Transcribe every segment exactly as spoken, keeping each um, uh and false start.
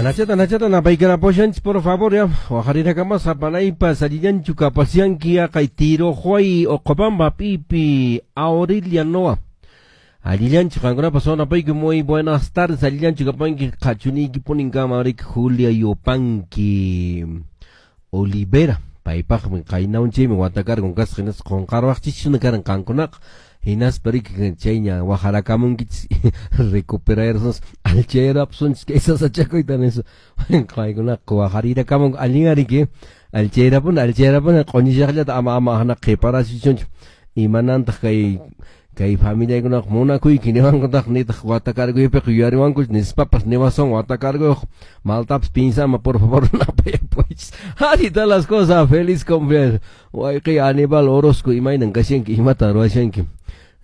Anachata, anachata, napaykaraposhanchis, por favor, ya. Wajarirakamas, apanaypas, allillanchu kapasyanki, ya, kay Tirohuay, Oqobamba, pipi, Aurelia Noa. Allillanchu, qankunapas napayku, muy buenas tardes, allillanchu kapanki, qhachuniyki puninkama, riki, Julia Yupanki Olivera. Paypaqmi qaynaunchaymi watakarqun kasqa, hinaspa qunqarwaqchisuna karan qankunaqa. Hinaspa riki chayña wajarakamunkichis recuperarnos alchayrapsunchis kay sasachakuyta nispa paykunaqa wajarirakamunku allin riki alchayrapuna alchayrapuna q'uñishaqllata ama ama hana qhiparasichunchu imanantaq kay kay familiaykunaqa munakuyki niwankutaq nitaq watakarkuypiqa yuyariwankuch nispapas niwasun watakarkuyuq maltapas pinsama por favor napayapuwaychis. Así están las cosas, feliz cumpleaños wayqiy Aníbal Orozco, imaynan kashanki, imatan ruwashanki.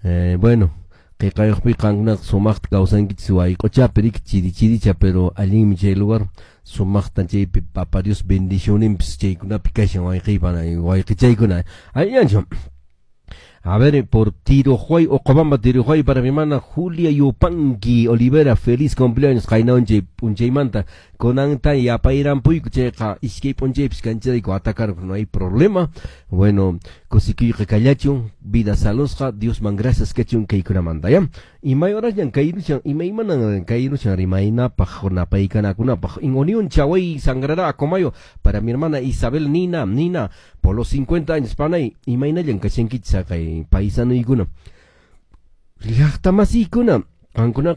Eh, bueno, qiqayuqpi qankunaqa sumaqta kawsankichis wayq'uchapi riki chiri chiricha, pero allinmi chay lugar sumaqta chaypi Papa Dios bendicionninpis chaykunapi kashan wayqiypa wayqichaykuna allinchu. A ver, por Tirojuay, Oqobamba Tirojuay, para mi hermana Julia Yupanqui Olivera, feliz cumpleaños, qaynaunchi p'unchaymanta, kunanta yapayrampuyku chayqa iskay p'unchaypis kancharayku atacar, no hay problema. Bueno, kusikuyqa kallachun, vida salusqa, Diosman gracias kachun kaykunamanta, ya. Imay horasñan kayruchan, imaymanan kayruchan rimaynapaq, napaykanakunapaq. En Unión Chahuay, Sangrará, Acomayo, para mi hermana Isabel Nina, Nina, por los cincuenta años, panay, imaynallan kashankichis kay paisanuykuna. Llaqtamasiykuna, qankuna.